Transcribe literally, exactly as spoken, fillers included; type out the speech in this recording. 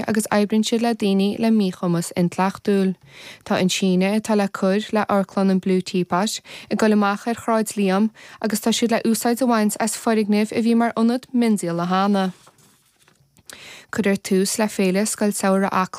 agus oibríonn siad le daoine le míchumas intleachtúil. Tá an síneadh atá le cur le hamharclann an Blue Teapot ag dul amach ar Shráid Liam agus tá siad le úsáid a bhaint as foirgneamh a bhí mar ionad miondíola cheana. Cuirfear tús le féile Scoil Samhraidh Acla